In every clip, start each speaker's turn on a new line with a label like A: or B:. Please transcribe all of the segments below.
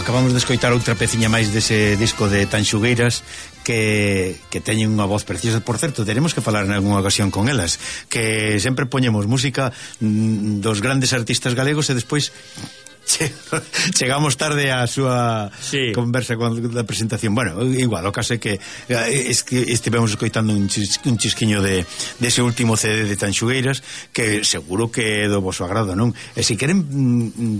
A: acabamos de escoitar outra peciña máis dese disco de Tanxugueiras que teñen unha voz preciosa. Por certo, teremos que falar en algunha ocasión con elas, que sempre poñemos música dos grandes artistas galegos e despois chegamos tarde á súa conversa con a presentación. Bueno, igual, o caso é que estivemos escoitando un chisquiño dese último CD de Tanxugueiras, que seguro que é do vosso agrado, non? E se queren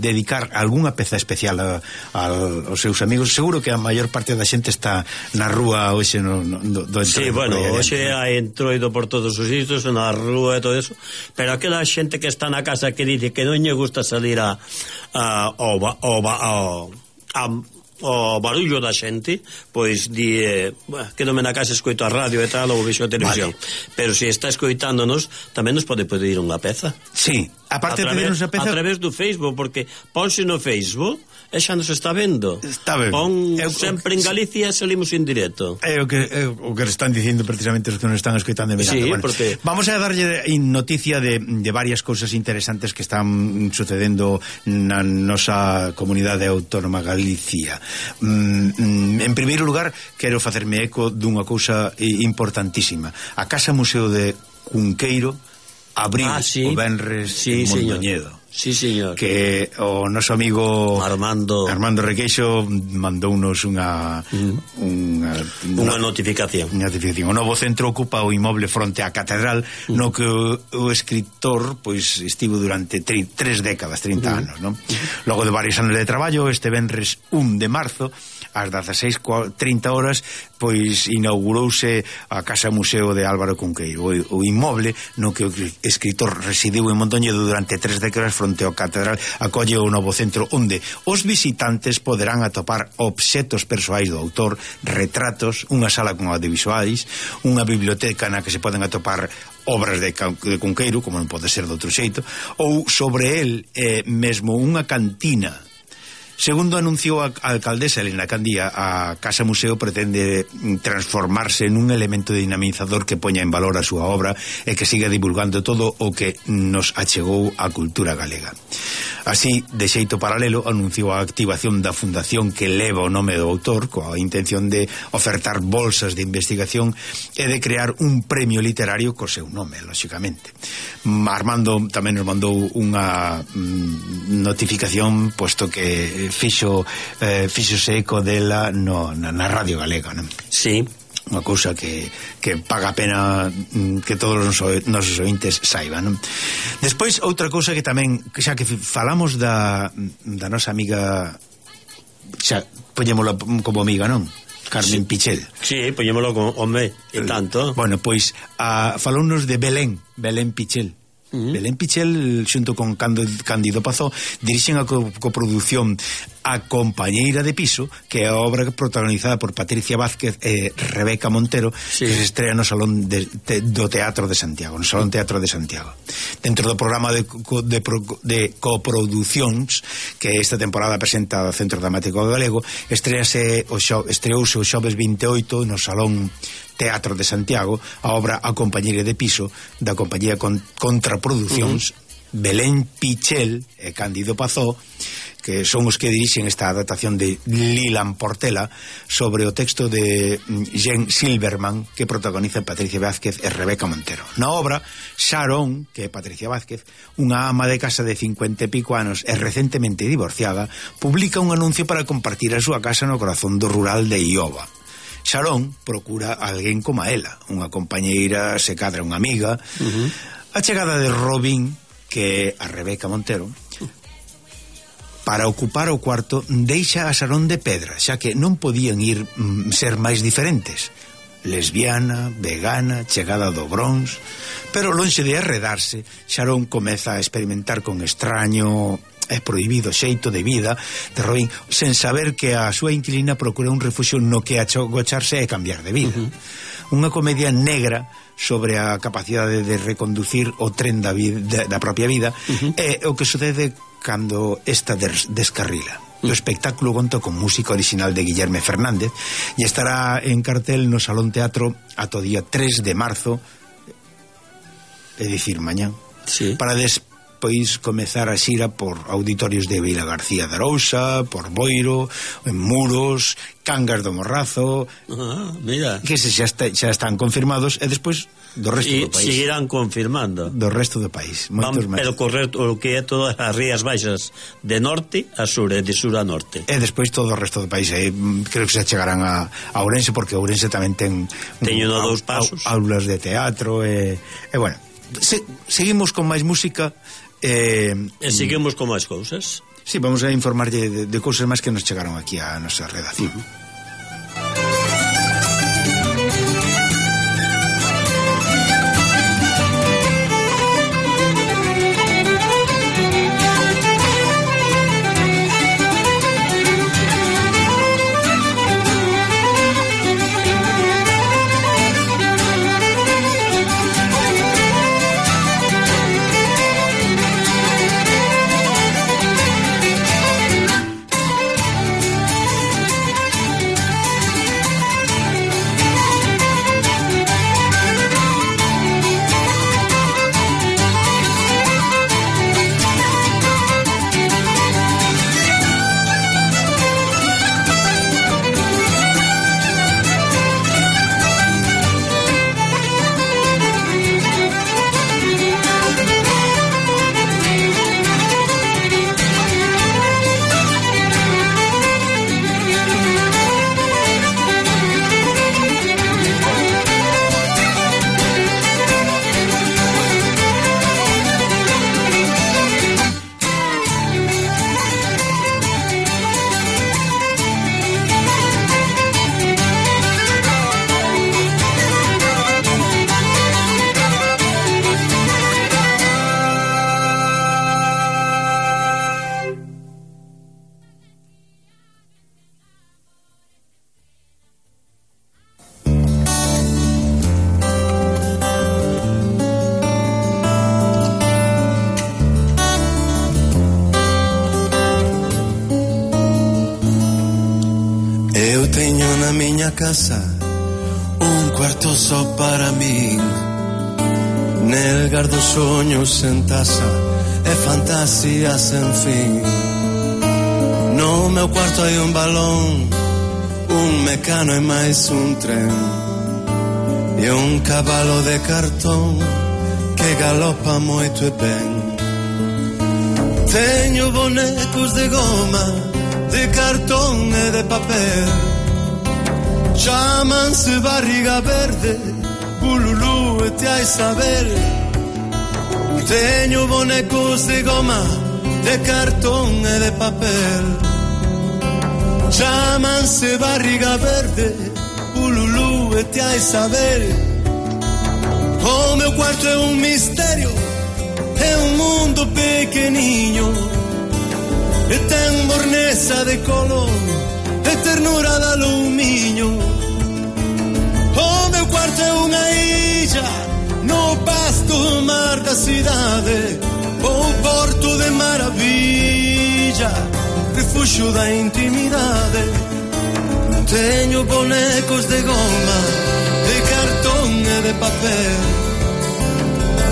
A: dedicar algunha peza especial aos seus amigos, seguro que a maior parte da xente está na rúa hoxe do
B: sí, bueno, hoxe hai entroido por todos os sitios, na rúa e todo eso, pero aquela xente que está na casa que dice que non lle gusta salir ao barullo da xente, pois di quedome na casa, escoito a radio e tal, ou vexo a televisión, pero se está escoitándonos tamén nos pode pedir unha peza.
A: Sí, aparte de pedirnos a peza
B: a través do Facebook, porque ponse no Facebook e xa nos está vendo.
A: Está ben.
B: Sempre en Galicia salimos en directo.
A: É o que están dicindo precisamente os que nos están escoitando en verano.
B: Sí,
A: bueno,
B: porque
A: vamos a darlle noticia de varias cousas interesantes que están sucedendo na nosa comunidade autónoma Galicia. En primeiro lugar, quero facerme eco dunha cousa importantísima. A Casa Museo de Cunqueiro abriu o venres en Mondoñedo.
B: Sí, señor.
A: Que o noso amigo
B: Armando
A: Requeixo mandounos unha
B: notificación.
A: O novo centro ocupa o inmoble fronte á catedral, no que o escritor pois estivo durante 3 décadas, 30 anos, non? Logo de varios anos de traballo, este venres 1 de marzo ás 16:30 horas, pois inaugurouse a Casa Museo de Álvaro Cunqueiro, o inmoble no que o escritor residiu en Mondoñedo durante 3 décadas fronte ao catedral. Acolle o novo centro onde os visitantes poderán atopar obxetos persoais do autor, retratos, unha sala con audiovisuais, unha biblioteca na que se poden atopar obras de Cunqueiro, como non pode ser de outro xeito, ou sobre el mesmo unha cantina. Segundo anunciou a alcaldesa Elena Candía, a Casa Museo pretende transformarse nun elemento dinamizador que poña en valor a súa obra e que siga divulgando todo o que nos achegou a cultura galega. Así, de xeito paralelo, anunciou a activación da fundación que leva o nome do autor, coa intención de ofertar bolsas de investigación e de crear un premio literario co seu nome, lóxicamente. Armando tamén nos mandou unha notificación, posto que fixose eco dela na Radio Galega, non?
B: Sí.
A: Unha cousa que paga a pena que todos os nosos ointes saiban, non? Despois, outra cousa que tamén, xa que falamos da nosa amiga, xa poñémola como amiga, non? Carmen Pichel.
B: Sí, poñémolo con home e tanto.
A: Bueno, pois falounos de Belén Pichel. Belén Pichel, xunto con Cándido Pazó, dirixen a coproducción A Compañeira de Piso, que é a obra protagonizada por Patricia Vázquez e Rebeca Montero, que se estrea no Salón do Teatro de Santiago, no Salón Teatro de Santiago. Dentro do programa de coproducións que esta temporada presenta o Centro Dramático Galego, estreouse o xoves 28 no Salón Teatro de Santiago a obra A Compañeira de Piso da compañía Contraproducións, Belén Pichel e Cándido Pazó, que son os que dirixen esta adaptación de Lilan Portela sobre o texto de Jen Silverman, que protagoniza Patricia Vázquez e Rebeca Montero. Na obra, Sharon, que é Patricia Vázquez, unha ama de casa de 50 e pico anos e recentemente divorciada, publica un anuncio para compartir a súa casa no corazón do rural de Iowa. Sharon procura alguén como a ela, unha compañeira, se cadra unha amiga. A chegada de Robin, que é a Rebeca Montero, para ocupar o cuarto, deixa a Sharon de pedra, xa que non podían ser máis diferentes. Lesbiana, vegana, chegada do Bronx, pero lonxe de arredarse, Sharon comeza a experimentar con extraño e prohibido xeito de vida de Robin, sen saber que a súa inquilina procura un refuxio no que agocharse e cambiar de vida. Unha comedia negra sobre a capacidade de reconducir o tren da propia vida e o que sucede cando esta descarrila. O espectáculo conta con música original de Guillerme Fernández e estará en cartel no Salón Teatro ata o día 3 de marzo, é dicir, mañán, para pois comezar a xira por auditorios de Vila García de Arousa, por Boiro, en Muros, Cangas do Morrazo,
B: mira,
A: que xa están confirmados, e despois do resto do país.
B: E seguirán confirmando.
A: Do resto do país, moitos máis.
B: Pero correr o que é todas as rías baixas de norte a sur e de sur a norte.
A: E despois todo o resto do país, creo que xa chegarán a Ourense, porque Ourense tamén ten
B: dous pasos,
A: aulas de teatro, e bueno, seguimos con máis música,
B: e seguimos con máis cousas.
A: Sí, vamos a informarlle de cousas máis que nos chegaron aquí a nosa redacción.
C: Casa, un cuarto só para min, nel gardo soños en taza e fantasías sen fin. No meu cuarto hai un balón, un mecano e máis un tren, e un cabalo de cartón que galopa moito e ben. Teño bonecos de goma, de cartón e de papel, chámanse barriga verde, bululú e te hai saber. Teño bonecos de goma, de cartón e de papel, chámanse barriga verde, bululú e te hai saber. O meu cuarto é un misterio, é un mundo pequeniño, e ten morneza de color e ternura de alumiño. O meu cuarto é unha illa no vasto mar da cidade, o porto de maravilla, refuxo da intimidade. Teño bonecos de goma, de cartón e de papel,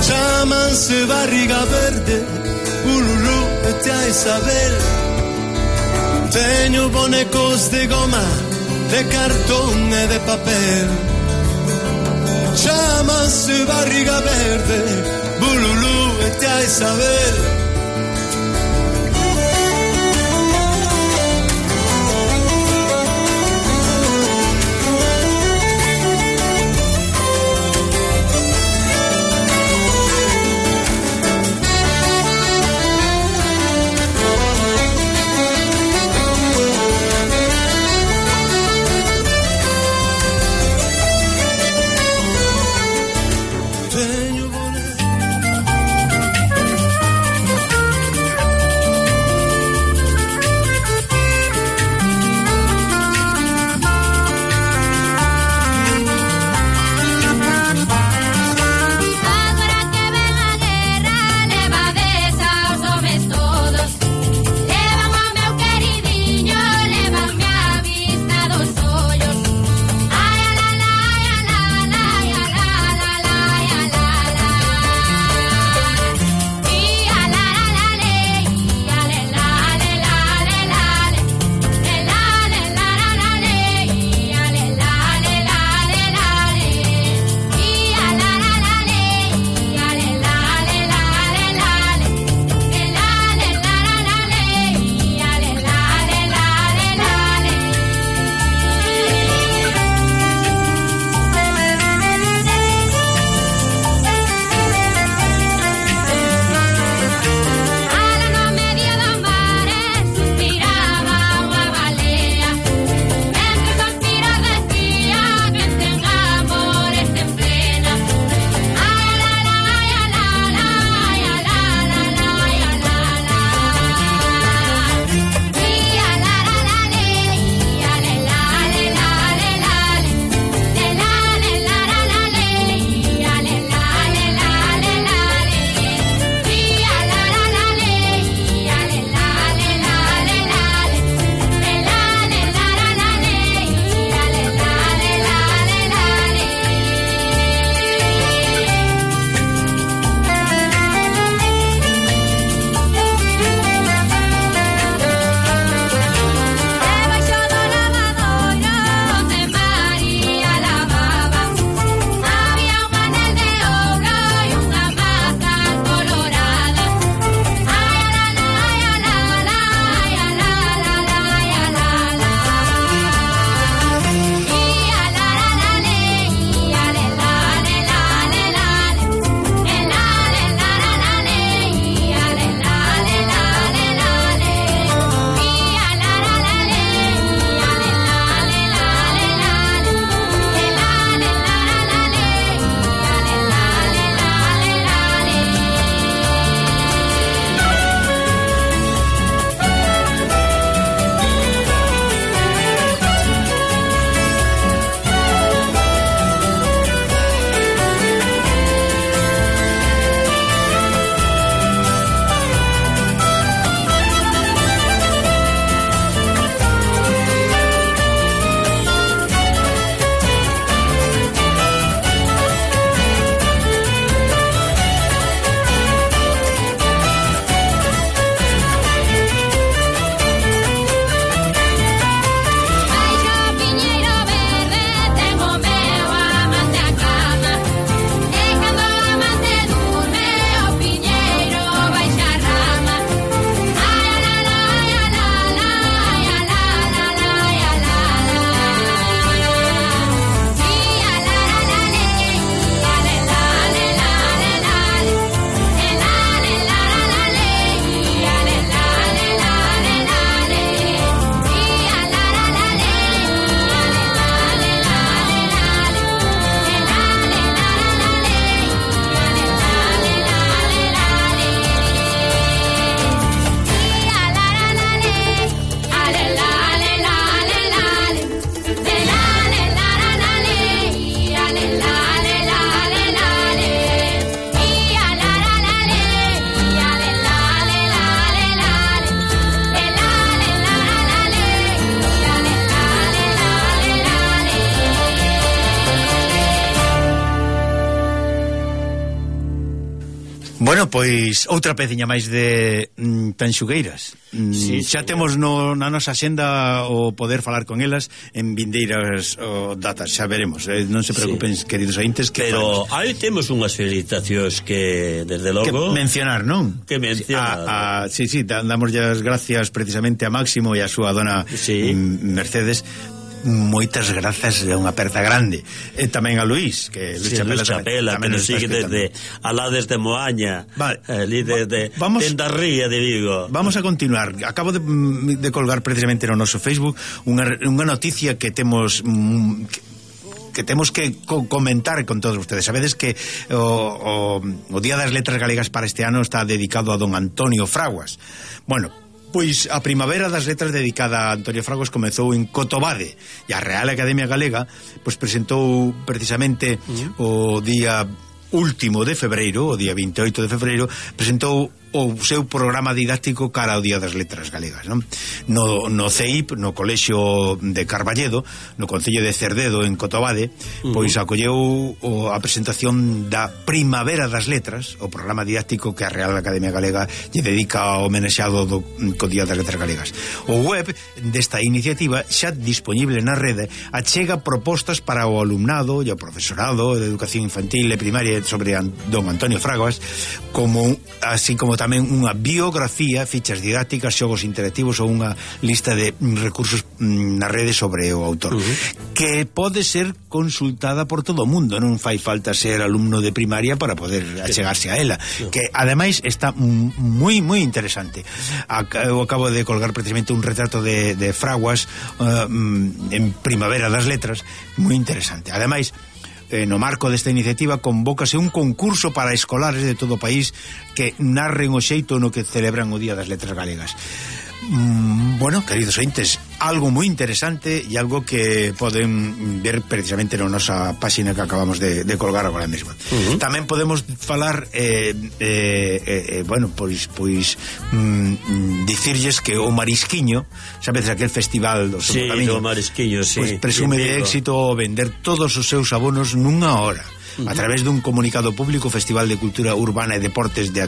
C: chámanse barriga verde, ululú e te hai saber. Teño bonecos de goma, de cartón e de papel, chámanse barriga verde, bululú e te hai saber.
A: Bueno, pois outra peciña máis de Tanxugueiras. Xa temos na nosa axenda o poder falar con elas en vindeiras datas, xa veremos, non se preocupen, queridos ointes, que
B: pero aí temos unhas felicitacións que desde logo
A: que mencionar, non?
B: Que mencionar.
A: Sí, damos as gracias precisamente a Máximo e a súa dona Mercedes. Moitas grazas, é unha aperta grande. E tamén a Luís, que Luís
B: Chapela, que nos sigue desde alá desde Moaña, ali desde Tendarría de Vigo.
A: Vamos a continuar. Acabo de colgar precisamente no noso Facebook unha noticia que temos que comentar con todos ustedes. Sabedes que o Día das Letras Galegas para este ano está dedicado a don Antonio Fraguas. Bueno, pois a Primavera das Letras dedicada a Antonio Fraguas comezou en Cotobade e a Real Academia Galega pois presentou precisamente o día último de febreiro, o día 28 de febreiro, presentou o seu programa didáctico cara ao Día das Letras Galegas, non? No CEIP, no Colexio de Carballedo, no Concello de Cerdedo, en Cotobade, pois acolleu a presentación da Primavera das Letras, o programa didáctico que a Real Academia Galega lle dedica ao homenaxeado co Día das Letras Galegas. O web desta iniciativa, xa disponible na rede, achega propostas para o alumnado e o profesorado de educación infantil e primaria sobre don Antonio Fraguas, así como tamén unha biografía, fichas didácticas, xogos interactivos ou unha lista de recursos na rede sobre o autor, que pode ser consultada por todo o mundo, non fai falta ser alumno de primaria para poder achegarse a ela, que ademais está moi interesante. Eu acabo de colgar precisamente un retrato de Fraguas en Primavera das Letras, moi interesante. Ademais, no marco desta iniciativa convócase un concurso para escolares de todo o país que narren o xeito no que celebran o Día das Letras Galegas. Bueno, queridos ointes, algo moi interesante e algo que poden ver precisamente na nosa páxina que acabamos de colgar agora mesmo. Tamén podemos falar bueno, pois dicirlles que o Marisquiño, sabes, aquel festival do
B: Camiño, o Marisquiño,
A: pois presume de éxito vender todos os seus abonos nunha hora. A través dun comunicado público, o Festival de Cultura Urbana e Deportes de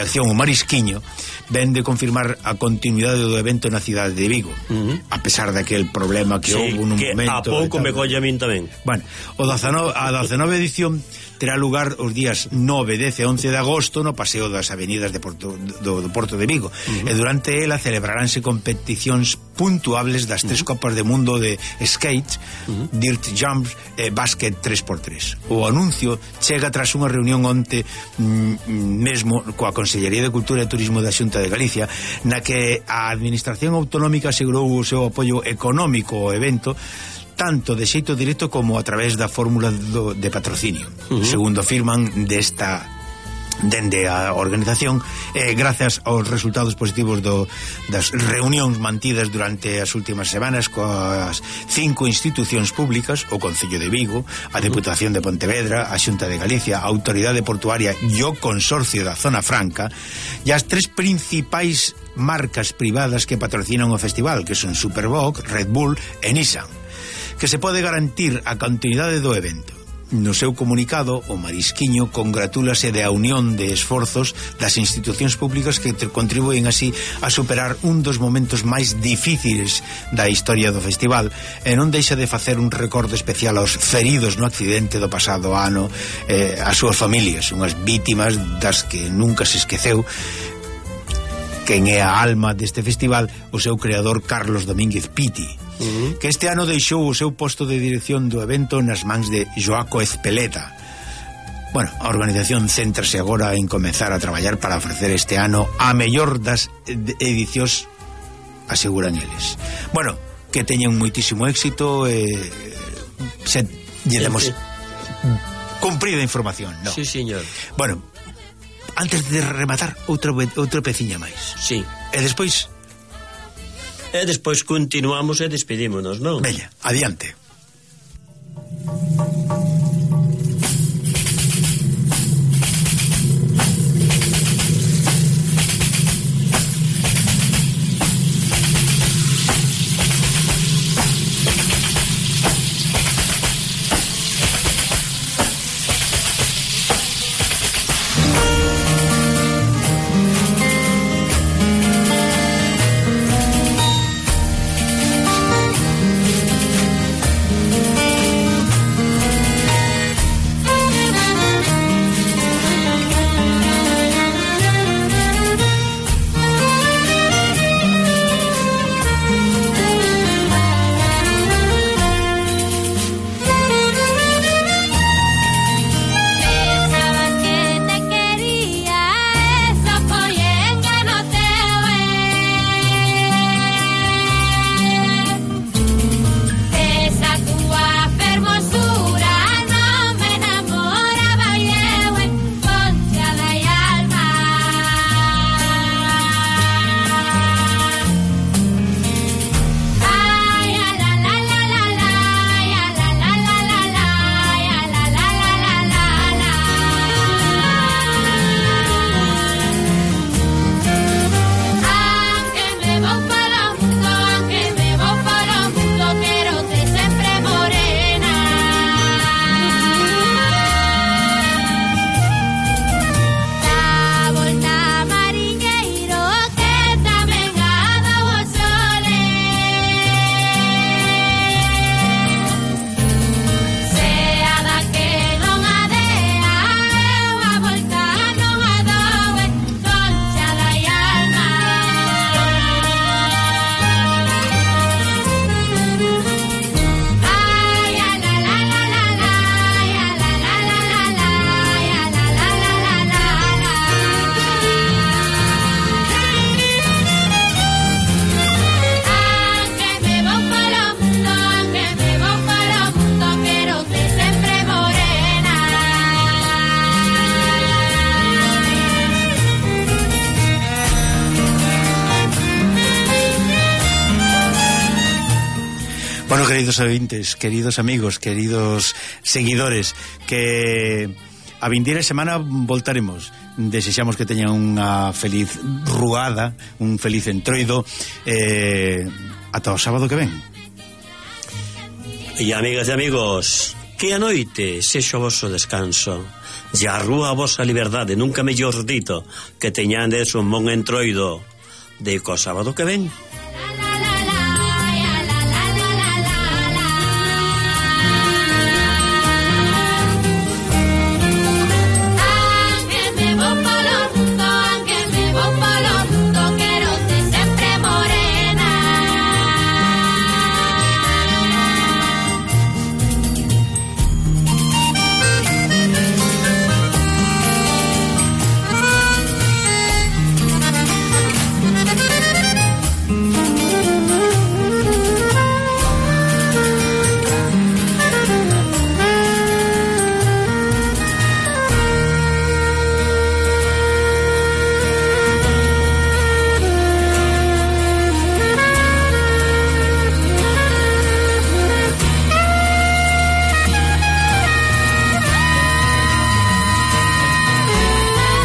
A: Acción o Marisquiño ven de confirmar a continuidade do evento na cidade de Vigo, a pesar daquel problema que houve nun momento.
B: A pouco me colle a min tamén.
A: Bueno, a 19 edición terá lugar os días 9, 10 e 11 de agosto no Paseo das Avenidas do Porto de Vigo, e durante ela celebraránse competicións puntuables das 3 Copas de Mundo de skate, dirt jumps e básquet 3x3. O anuncio chega tras unha reunión onte mesmo coa Consellería de Cultura e Turismo da Xunta de Galicia, na que a Administración Autonómica asegurou o seu apoio económico ao evento, tanto de xeito directo como a través da fórmula de patrocinio. Segundo afirman dende a organización, grazas aos resultados positivos das reunións mantidas durante as últimas semanas coas 5 institucións públicas, o Concello de Vigo, a Deputación de Pontevedra, a Xunta de Galicia, a Autoridade Portuaria e o Consorcio da Zona Franca, e as 3 principais marcas privadas que patrocinan o festival, que son Superboc, Red Bull e Nissan, que se pode garantir a continuidade do evento. No seu comunicado, o Marisquiño congratúlase da unión de esforzos das institucións públicas que contribúen así a superar un dos momentos máis difíciles da historia do festival, e non deixa de facer un recordo especial aos feridos no accidente do pasado ano, as súas familias, unhas vítimas das que nunca se esqueceu quen é a alma deste festival, o seu creador Carlos Domínguez Piti, que este ano deixou o seu posto de dirección do evento nas mans de Joaco Ezpeleta. Bueno, a organización céntrase agora en comezar a traballar para ofrecer este ano a mellor das edicións, aseguran eles. Bueno, que teñen moitísimo éxito e lle demos cumprida información, ¿no?
B: Sí, señor.
A: Bueno, antes de rematar, outra peciña máis.
B: Sí.
A: E despois
B: continuamos e despedímonos, non?
A: Veña, adiante. queridos ouvintes, queridos amigos, queridos seguidores, que a vindeira semana voltaremos. Desexamos que teñan unha feliz ruada, un feliz entroido, ata o sábado que ven.
B: E amigas e amigos, que a noite sexa o vosso descanso e a rúa a vosa liberdade, nunca mellor dito, que teñades un bon entroido de co sábado que ven.